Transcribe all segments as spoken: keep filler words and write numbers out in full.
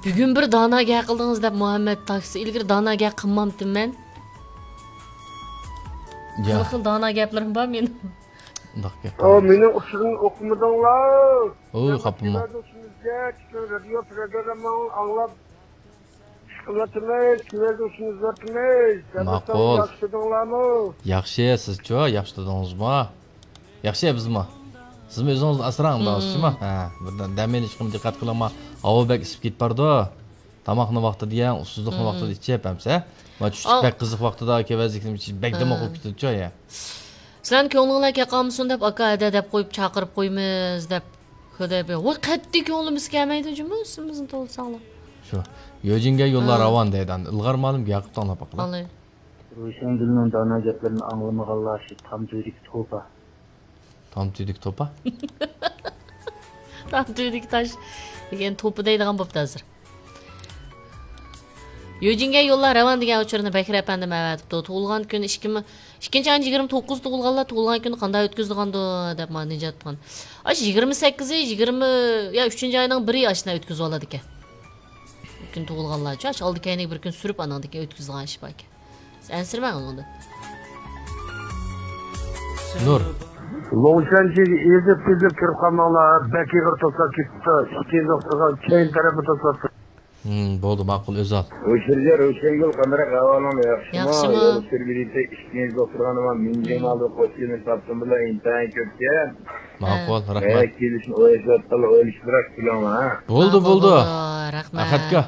بۈگۈن بىر دانا گەپ قىلدىڭىز دەپ مۇھەممەد تاكسى. ئىلگىرى دانا گەپ قىلمامتىم مەن. يا. خىل خىل دانا گەپلىرىم بار مېنىڭ. ئۇنداق گەپ ئۇ بار. مېنىڭ ئۇچۇرۇمنى ئوقۇمىدىڭلار. ئۇي، خاپىمۇ. كېلىۋاتىمىز، پۈتۈن رادىيو پروگرامماڭلارنى ئاڭلاپ ئىش قىلىۋاتىمىز، كېلىۋاتىمىز. ماقۇل. ياخشى تۇردۇڭلارمۇ؟ ياخشى، سىزچۇ؟ ياخشى تۇردىڭىزمۇ؟ ياخشى، بىزمۇ. سىزمۇ ئۆزىڭىزنى ئاسراڭ، مۇنداق ئىشمۇ؟ ھە، بىر دەم ئېلىشقىمۇ دىققەت قىلىڭ، ھاۋا بەك ئىسسىپ كېتىپ بارىدۇ. تاماقنى ۋاقتىدا يەڭ، ئۇسسۇزلۇقنى ۋاقتىدا ئىچىپ، ئەمسە. ما چۈشلۈك بەك قىزىق ۋاقتىدا كېۋەزلىكنى ئىچىپ، بەك دىماق بولۇپ كېتىدۇچۇ، يا. سىلەرنىڭ كۆڭلۈڭلار كەلگەنمىسۇن دەپ، ئاكا ھەدە دەپ قويۇپ، چاقىرىپ قويىمىز دەپ. خۇداي بىر، ۋاي، قەتئىي كۆڭلىمىز كەلمەيدۇ جۇمۇ، ئىسمىمىزنى توۋلىساڭلار. شۇ. يۆجىنگە يوللار راۋان دەيدۇ. ئىلغار مالىم ياقۇپ تاڭلاپ باقىلا. روشەنگۈلنىڭ دانا گەپلىرىنى ئاڭلىمىغانلار شۇ تام تۈۋىدىكى توپا. تام تۈۋىدىكى توپا؟ تام تۈۋىدىكى تاش دېگەن توپا دەيدىغان بوپتۇ ھازىر. يۆجىنگە يوللار راۋان دېگەن ئۇچۇرنى بەكرى ئەپەندىم ئەۋەتىپتۇ. تۇغۇلغان كۈن ئىككى مىڭ، ئىككىنچى ئاينىڭ يىگىرمە توققۇزى تۇغۇلغانلار تۇغۇلغان كۈنى قانداق ئۆتكۈزىدىغاندۇ دەپ مانا نىجات خان. ئاشۇ يىگىرمە سەككىزى، يىگىرمە، يا ئۈچىنچى ئاينىڭ بىرى ئاشۇنداق ئۆتكۈزۈۋالىدىكەن. بىر كۈن تۇغۇلغانلارچۇ، ئاشۇ ئالدى كەينىگە بىر كۈن سۈرۈپ ئانىڭدىن كېيىن ئۆتكۈزىدىغان ئىش باركەن. ئەنسىرىمەڭ ئۇنىڭدىن. نۇر. لوڭشەنچىگە ئېزىپ-تېزىپ كىرىپ قالماڭلار، بەك ئېغىر توساپ كېتىپتۇ، ئىككىنچى توختىغا كەينى تەرەپنى توساپتۇ. ھىم، بولدى، ماقۇل، ئۆزال. ھوشيار روشەنگۈل، قانداق ئەھۋالىڭ، ياخشىمۇ؟ ياخشىمۇ؟ يول سۈرگۈلۈكتە ئىككىنچى دوختۇرخانا بار، مىڭجىڭ ئالدىدا قوشچىلىنى تاپتىم بىلەن ئىنتايىن كۆپكەن. ماقۇل، ھە، رەھمەت. كېلىشنى ئويلىشىۋاتقانلار ئھە. بولدى، ھە، بولدى. بولدى، رەھمەت. ئەخەتكا.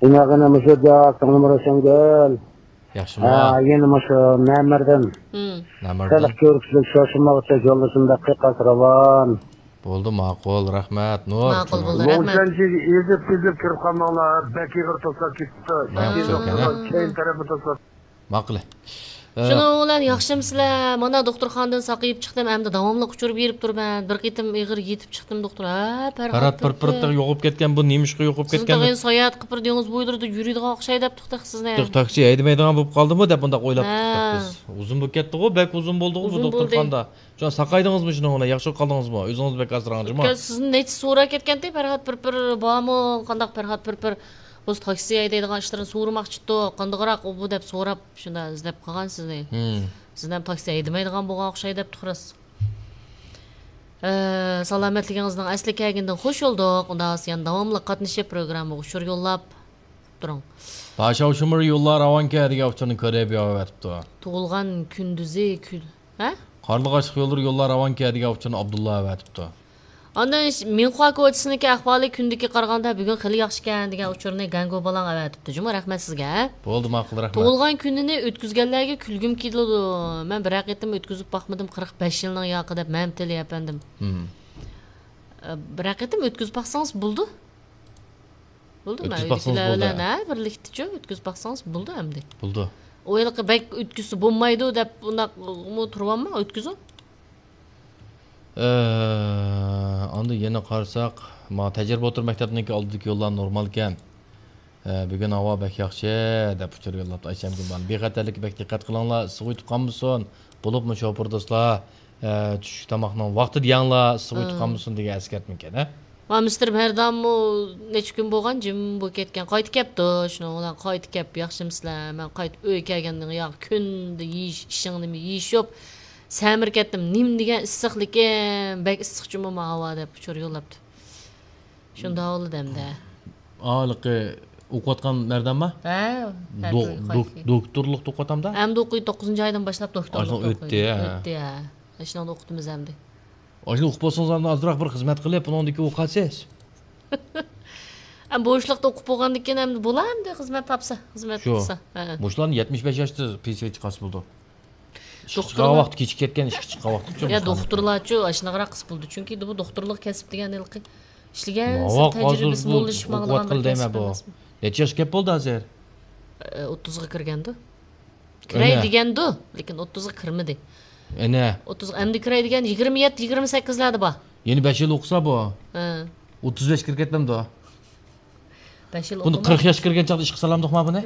ئىناغىنە مۇشۇ جاق، سىڭلىم روشەنگۈل. ياخشىمۇ؟ ھە، يەنە مۇشۇ نەمەردىن. ھىم. نەمەردىن. خەلق كۆركۈزۈپ شوشۇماغۇچە يولدىشىم بەك قىيقاس راۋان. بولدى، ماقۇل، رەھمەت، نۇر. ماقۇل بولدى، رەھمەت. لوڭشەنچىگە ئېزىپ-تېزىپ كىرىپ قالماڭلار، بەك ئېغىر توساپ كېتىپتۇ. ماقۇل. كەينى تەرەپنى توساپ. ماقۇل. ئە، شۇنىڭ بىلەن ياخشىمۇسىلەر؟ مانا دوختۇرخانىدىن ساقىيىپ چىقتىم، ئەمدى داۋاملىق ئۇچۇر بېرىپ تۇرىمەن. بىر قېتىم ئېغىر يېتىپ چىقتىم، دوختۇر. ھە، پەرھات پىرپىر. پىرپىر يوقاپ كەتكەن، بۇ نېمىشقا يوقاپ كەتكەن؟ سىزنى ساياھەت قىلىپ بىر دېڭىز بويلىرىدا يۈرىدىغان ئوخشايدۇ دەپتۇ تېخى سىزنى. تېخى تاكسى ھەيدىمەيدىغان بولۇپ قالدىمۇ دەپ مۇنداق ئويلاپ تۇردۇق بىز. ئۇزۇن بولۇپ كەتتىغۇ، بەك ئۇزۇن بولدىغۇ بۇ دوختۇرخانىدا. شۇڭا ساقايدىڭىزمۇ شۇنىڭ بىلەن؟ ياخشى بولۇپ قالدىڭىزمۇ؟ ئۆزىڭىز بەك ئاسراڭچىمۇ؟ سىزنى نەچچە سوراپ كەتكەنتى، پەرھات پىرپىر بارمۇ؟ قانداق پەرھات پىرپىر بولسا تاكسى ھەيدەيدىغان ئىشلىرىنى سورىماقچىتتۇق. قانداقراق ئۇ بۇ دەپ سوراپ، شۇنداق ئىزدەپ قالغان سىزنى. ھىم. سىزنى ھەم تاكسى ھەيدىمەيدىغان بولغان ئوخشايدۇ دەپتۇ راست. ئە، سالامەتلىكىڭىزنىڭ ئەسلىگە كەلگىنىدىن خوش بولدۇق. ئۇنداق يەنە داۋاملىق قاتنىشىپ، پروگراممىغا ئۇچۇر يوللاپ تۇرۇڭ. باشاۋ شۇمۇر يوللار راۋانكەن دېگەن ئۇچۇرنى كۆرۈپ يېزىۋېتىپتۇ. تۇغۇلغان كۈندۈزى كۈن، ھە؟ قارلىغاچلىق يوللىرى يوللار راۋانكەن دېگەن ئۇچۇرنى ئابدۇللا ئەۋەتىپتۇ. ئاندىن ش-، مىنخۇا كوچىسىنىڭكى ئەھۋالى كۈندىكىگە قارىغاندا بۈگۈن خېلى ياخشىكەن دېگەن ئۇچۇرنى گەنگۇ بالاڭ ئەۋەتىپتۇ جۇمۇ، رەھمەت سىزگە. بولدى، ماقۇل، رەھمەت. تۇغۇلغان كۈنىنى ئۆتكۈزگەنلەرگە كۈلگۈم كېلىدۇ. مەن بىرەر قېتىم ئۆتكۈزۈپ باقمىدىم، قىرىق بەش يىلنىڭ ياقى دەپ مەمتىل ئەپەندىم. ھىم. ئە، بىرەر قېتىم ئۆتكۈزۈپ باقسىڭىز بولىدۇ. بولىدۇ، مەن ئۆتكۈزۈپ باقسىڭىز ئۆيدىكىلەر بولىدۇ. بىلەن، ھە، بىرلىكتىچۇ ئۆتكۈزۈپ باقسىڭىز بولىدۇ ئەمدى. بولىدۇ. ئۇ ھېلىقى بەك ئۆتكۈزسە بولمايدۇ دەپ ئۇنداقمۇ تۇرۇۋالماڭ، ئۆتكۈزۈڭ. ئە، ئاندىن يەنە قارىساق، ما تەجرىبە ئوتتۇرا مەكتەپنىڭكى ئالدىدىكى يوللار نورمالكەن. ئە، بۈگۈن ھاۋا بەك ياخشى، دەپ ئۇچۇر يوللاپتۇ ئايشەم گۈلبان. بىخەتەرلىككە بەك دىققەت قىلىڭلار، ئىسسىق ئۆتۈپ قالمىسۇن. بولۇپمۇ شوپۇر دوستلار، ئە، چۈشلۈك تاماقنىڭ ۋاقتىدا يەڭلار، ئىسسىق ئۆتۈپ قالمىسۇن دېگەن ئەسكەرتمىكەن، ھە؟ ۋا مىستېر مەردانمۇ نەچچە كۈن بولغان جىم بولۇپ كەتكەن. قايتىپ كەپتۇ، شۇنىڭ بىلەن قايتىپ كەپ، ياخشىمۇسىلەر؟ مەن قايتىپ ئۆيگە كەلگەندىن ياقى كۈندە يېيىش، ئىشىڭ نېمە يېيىش يوق. سەمرىپ كەتتىم، نېمە دېگەن ئىسسىقلىكىن، بەك ئىسسىق جۇمۇ ما ھاۋا دەپ ئۇچۇر يوللاپتۇ. شۇنداق بولدى ئەمدى. ھېلىقى ئوقۇۋاتقان مەردانما؟ ھە، دوك-، دوك-، دوكتورلۇقتا ئوقۇۋاتامدا؟ ئەمدى ئوقۇيدۇ، توققۇزىنچى ئايدىن باشلاپ دوكتورلۇقتا ئوقۇيدۇ. ئۆتتى، ھە. ئۆتتى، ھە. ئاشۇنىڭدا ئوقۇتىمىز ئەمدى. ئاشۇنى ئوقۇپ بولسىڭىز ئاندىن ئازراق بىر خىزمەت قىلىپ، ئۇنىڭدىن كېيىن ئوقۇۋالسىز. ئەمدى بوشلۇقتا ئوقۇپ بولغاندىن كېيىن ئەمدى بولا ئەمدى خىزمەت تاپسا، خىزمەت قىلسا. ھە. مۇشۇلارنى يەتمىش بەش ياشتا پېنسىيەگە چىقارسا بولىدۇ. ئىشقا چىققان ۋاقتى كېچىكىپ كەتكەن، ئىشقا چىققان ۋاقتى. يا، دوختۇرلارچۇ ئاشۇنداقراق قىس بولىدۇ. چۈنكى بۇ دوختۇرلۇق كەسىپ دېگەن ھېلىقى ئىشلىگەن تەجرىبىسى موللىشىپ ماڭىدىغان بىر كەسىپ ئەمەسمۇ. نەچچە ياشقا كەپ بولدى ھازىر؟ ئە، ئوتتۇزغا كىرگەندۇ. كىرەي دېگەندۇ، لېكىن ئوتتۇزغا كىرمىدى. ئەنە. ئوتتۇز، ئەمدى كىرەي دېگەن يىگىرمە يەتتە، يىگىرمە سەككىزلەردە بار. يەنە بەش يىل ئوقۇسا بۇ. ھە. ئوتتۇز بەشكە كىرىپ كەتمەمدۇ؟ بەش يىل بۇنى ئوقۇماي. قىرىق ياشقا كىرگەن چاغدا ئىشقا سالامدۇقما بۇنى؟